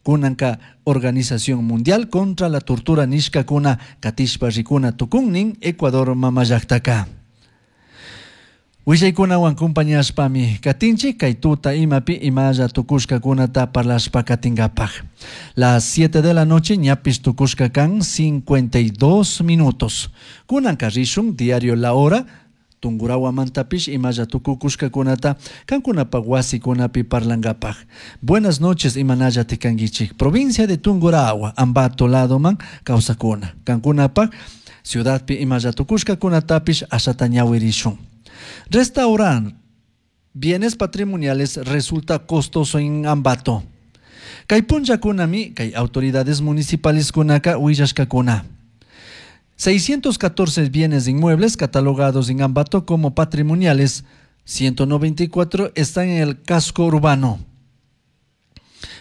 Kunanka Organización Mundial contra la Tortura nishkakuna katishpa rikuna tukunnin Ecuador mamallaktaka. Willaykunawan compañashpami katinchik kay tuta imapi imalla tukushkakunata parlashpa katinkapak. Las 7 de la noche ñapish tukushka kan 52 minutos. Kunanka rishun diario La Hora Tungurahuamantapish imalla tukukushkakunata kankunapak wasikunapi parlankapak. Buenas noches imanalla tikankichik. Provincia de Tungurahua, Ambato ladoman kawsakuna. Kankunapak ciudadpi imalla tukushkakunatapish ashata ñawirishun. Restaurar bienes patrimoniales resulta costoso en Ambato. Kay punllakunami kay autoridades municipales kunaka willashkakuna. 614 bienes inmuebles catalogados en Ambato como patrimoniales, 194 están en el casco urbano.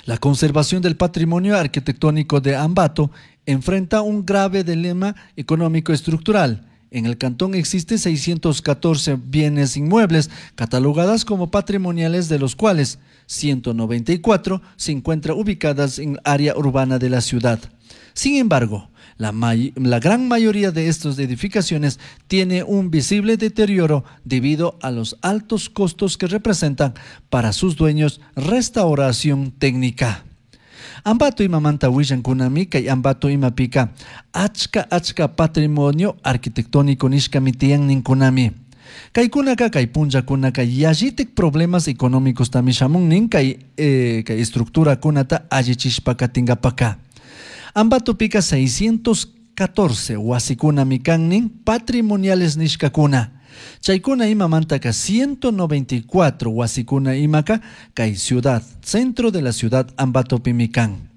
La conservación del patrimonio arquitectónico de Ambato enfrenta un grave dilema económico estructural. En el cantón existen 614 bienes inmuebles catalogadas como patrimoniales, de los cuales 194 se encuentran ubicadas en área urbana de la ciudad. Sin embargo, la gran mayoría de estas edificaciones tiene un visible deterioro debido a los altos costos que representan para sus dueños restauración técnica. Ambato imamanta willankunami kay Ambato imapika achka achka patrimonio arquitectónico nishkami tiyan ninkunami. Kaykunaka kay punllakunaka yallitik problemas económicos tami shamun nin kay estructurakunata allichishpa katinkapaka. Ambatopika 614 wasikunami kan nin patrimoniales nishkakuna. Chaykuna imamantaka 194 wasikuna imaka kay ciudad, centro de la ciudad Ambatopimi kan.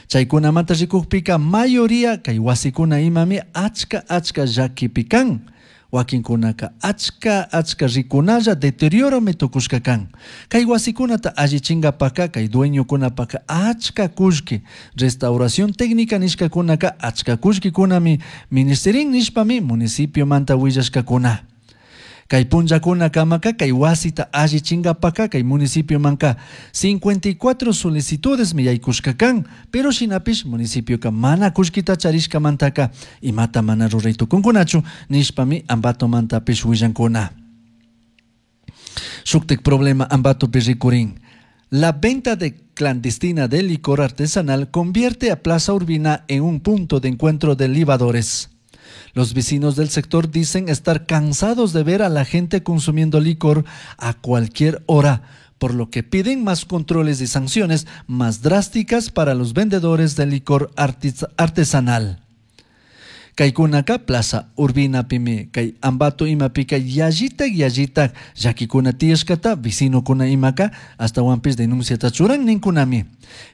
Chaykunamanta rikukpika mayoría kay wasikuna imami achka achka llakipi kan. Wakinkunaka achka achka rikunalla deterioromi tukushka kan. Kay wasikunata allichinkapaka kay dueñokunapaka achka kullki restauración técnica nishkakunaka achka kullkikunami ministerin nishpami municipiomanta willashkakuna. Kay punllakunakamaka kay wasita allichinkapaka kay municipiomanka 54 solicitudes mi yaykushka kan, pero shinapish municipioka mana kullkita charishkamantaka imata mana ruray tukunkunachu nishpami Ambatomantapish willankuna. Shuktik problema Ambatopi rikurin. La venta de clandestina de licor artesanal convierte a Plaza Urbina en un punto de encuentro de libadores. Los vecinos del sector dicen estar cansados de ver a la gente consumiendo licor a cualquier hora, por lo que piden más controles y sanciones más drásticas para los vendedores de licor artesanal. Kaykunaka Plaza Urbina pimi kay Ambato imapika yallita yallita llakikuna tiyashkata vecinokuna imaka ashtawanpish denunciata churan ninkunami.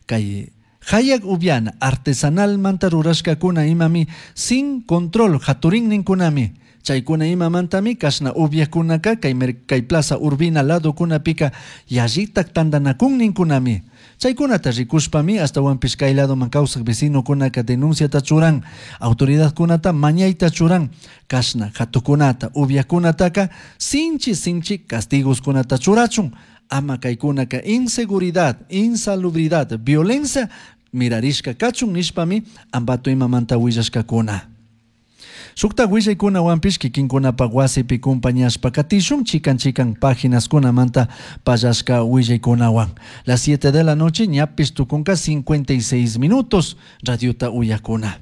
Kay hayak upiana artesanal manta rurashkakuna imami sin control haturin ninkunami. Chaykuna imamantami kashna upiakunaka kay Plaza Urbina ladokunapika yallitak tandanakun ninkunami. Chaykunata rikushpami ashtawanpish kay ladoman kawsak vecinokunaka denunciata churan, autoridadkunata mañayta churan, kashna hatukunata upiakunataka sinchi sinchi castigoskunata churachun, ama kaykunaka inseguridad, insalubridad, violencia mirarishka kachun nishpami Ambato imamanta willashkakuna. Shukta willaykunawanpish kikinkunapak wasipi compañashpa katishun chikan chikan páginas-kunamanta pallashka willaykunawan. Las 7 de la noche ñapish tukunka 56 minutos radiota uyakuna.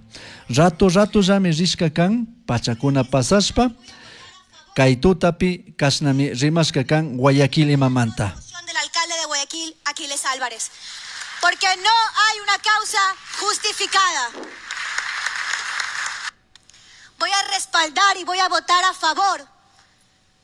Rato rato llami rishka kan pachakuna pasashpa kay tutapi kashnami rimashka kan Guayaquil imamanta. Del alcalde de Guayaquil, Aquiles Álvarez, porque no hay una causa justificada. Voy a respaldar y voy a votar a favor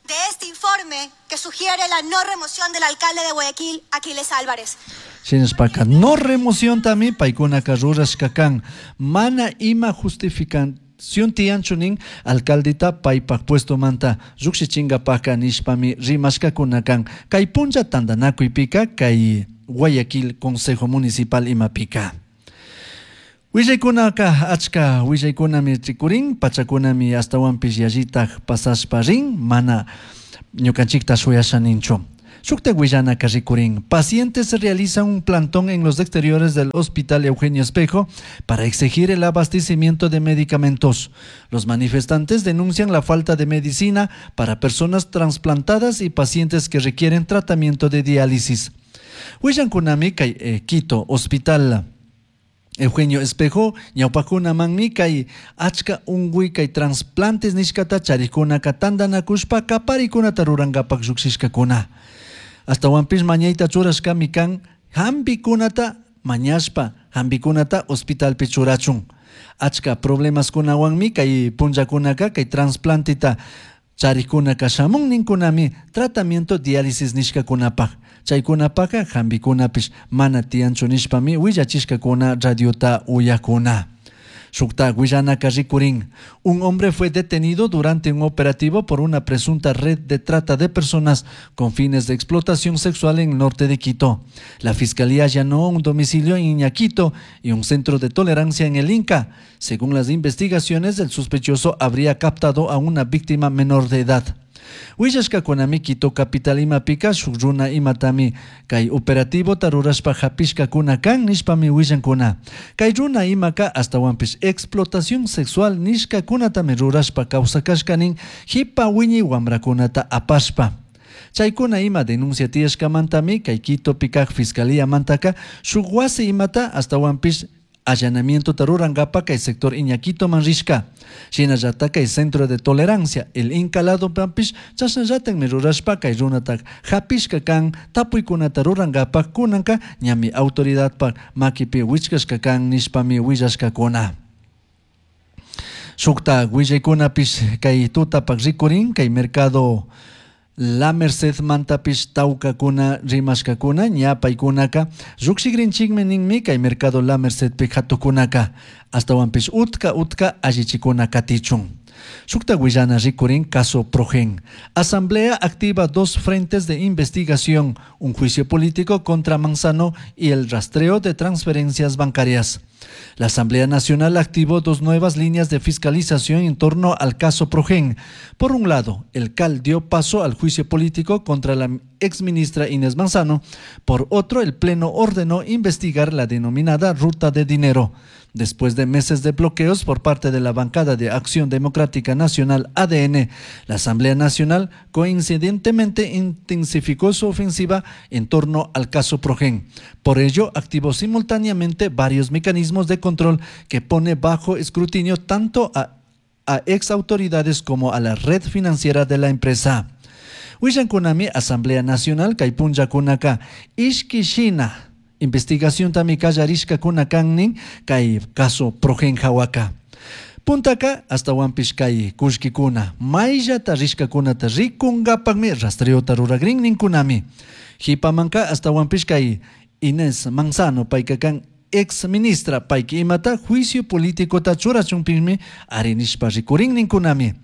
de este informe que sugiere la no remoción del alcalde de Guayaquil, Aquiles Álvarez. Shinashpaka no remoción también paykunaka rurashka kan mana ima justificación tiyanchu nin alcaldeta paypak puesto manta llukshichinkapaka nishpami rimashkakuna kan kay punlla tantanakuypika kay Guayaquil Consejo Municipal imapika. Willaykunaka achka willaykunami rikurin, pachakunami ashtawanpish yallitak pasashpa rin, mana ñukanchikta shuyasha ninchu. Shuktak willanaka rikurin. Pacientes realizan un plantón en los exteriores del Hospital Eugenio Espejo para exigir el abastecimiento de medicamentos. Los manifestantes denuncian la falta de medicina para personas trasplantadas y pacientes que requieren tratamiento de diálisis. Willankunami kay Quito Hospital Eugenio Espejo ñawpakunamanmi kay achka unkuy kay trasplantes nishkata charikkunaka tantanakushpa kaparikunata rurankapak llukshishkakuna. Ashtawanpish mañayta churashkami kan hampikunata mañashpa hampikunata hospitalpi churachun. Achka problemaskunawanmi kay punllakunaka kay trasplanteta charikkunaka shamun ninkunami tratamiento diálisis nishkakunapak. Chaykunapaka hampikunapish mana tiyanchu nishpami willachishkakuna radiota uyakuna. Shuktak willanaka rikurin. Un hombre fue detenido durante un operativo por una presunta red de trata de personas con fines de explotación sexual en el norte de Quito. La fiscalía allanó un domicilio en Iñaquito y un centro de tolerancia en el Inca. Según las investigaciones, el sospechoso habría captado a una víctima menor de edad. Willashkakunami Quito capital imapika shuk runa imatami kay operativota rurashpa hapishkakuna kan nishpami willankuna. Kay runa imaka ashtawanpish explotación sexual nishkakunatami rurashpa kawsakashka nin hipa wiñay wamrakunata apashpa. Chaykuna ima denuncia tiyashkamantami kay Quitopi kak fiscalía mantaka shuk wasi imata ashtawanpish allanamiento rurankapa kay sector Iñaquitoman rishka. Shinallata kay centro de tolerancia el Inca ladopish chashnallatakmi rurashpa kay runata hapishka kan tapuykunata rurankapak kunanka ñami autoridadpak makipi wichkashka kan nishpami willashkakuna. Shukta willaykunapish kay tutapak rikurin kay mercado La Merced mantapish tawkakuna rimashkakuna ña paykunaka llukshikrinchikmi ninmi kay mercado La Mercedpi hatukunaka ashtawanpish utka utka allichikuna katichun. Shukta willana rikurin caso Progen. Asamblea activa dos frentes de investigación, un juicio político contra Manzano y el rastreo de transferencias bancarias. La Asamblea Nacional activó dos nuevas líneas de fiscalización en torno al caso Progen. Por un lado, el CAL dio paso al juicio político contra la exministra Inés Manzano. Por otro, el Pleno ordenó investigar la denominada ruta de dinero. Después de meses de bloqueos por parte de la bancada de Acción Democrática Nacional ADN, la Asamblea Nacional coincidentemente intensificó su ofensiva en torno al caso Progen. Por ello, activó simultáneamente varios mecanismos de control que pone bajo escrutinio tanto a ex autoridades como a la red financiera de la empresa. Willankunami Asamblea Nacional kay punllakunaka ishki shina investigación tami kallarishkakuna kan nin kay caso Progen hawaka. Puntaka ashtawanpish kay kullkikuna mayllata rishkakunata rikunkapakmi rastreota ruragrin ninkunami. Hipamanka ashtawanpish kay Inés Manzano payka kan ex ministra payka imata juicio políticota churachunpishmi arinishpa rikurin ninkunami.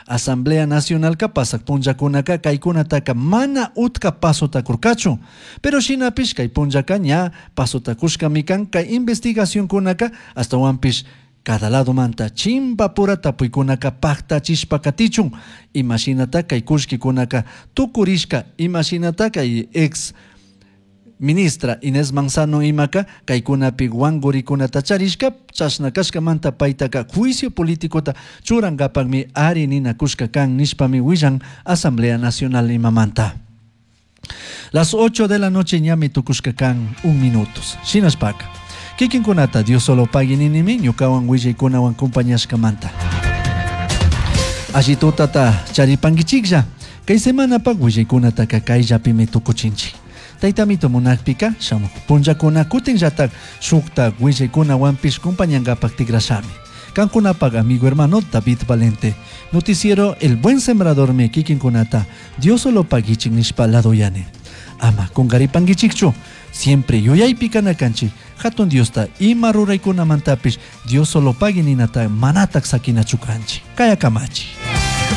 Asamblea Nacionalka pasak punllakunaka kaykunataka mana utka pasota kurkachu. Pero shinapish kay punllaka ña pasota kushkami kan kay investigacionkunaka ashtawanpish cada lado manta chimpapura tapuykunaka paktachishpa katichun. Imashinata kay kullkikunaka tukurishka imashinata kay ex ministra Inés Manzano imaka kaykunapi wankurikunata charishka chashna kashkamanta paytaka juicio políticota churankapakmi ari ninakushka kan nishpami willan Asamblea Nacional imamanta. Las 8 de la noche ñami tukushka kan un minutos. Shinashpaka. Kikinkunata Dios solo pagui ninimi ñukawan willaykunawan compañashkamanta. Alli tutata charipankichiklla. Kay semanapak willaykunataka kayllapimi tukuchinchik. Taytamito munakpika shamuk punllakuna kutinllatak shuktak willaykunawanpish compañankapak tikrashami. Kankunapak amigo hermano David Valente. Noticiero El Buen Sembrador me kikinkunata Dios solo paguichik nishpa ladoyani. Ama kunkaripankichikchu. Siempre yuyaypi kana kanchik. Hatun Diosta ima ruraykunamantapish Dios solo pagui ninata manatak sakinachu kanchik. Kaya kamachi.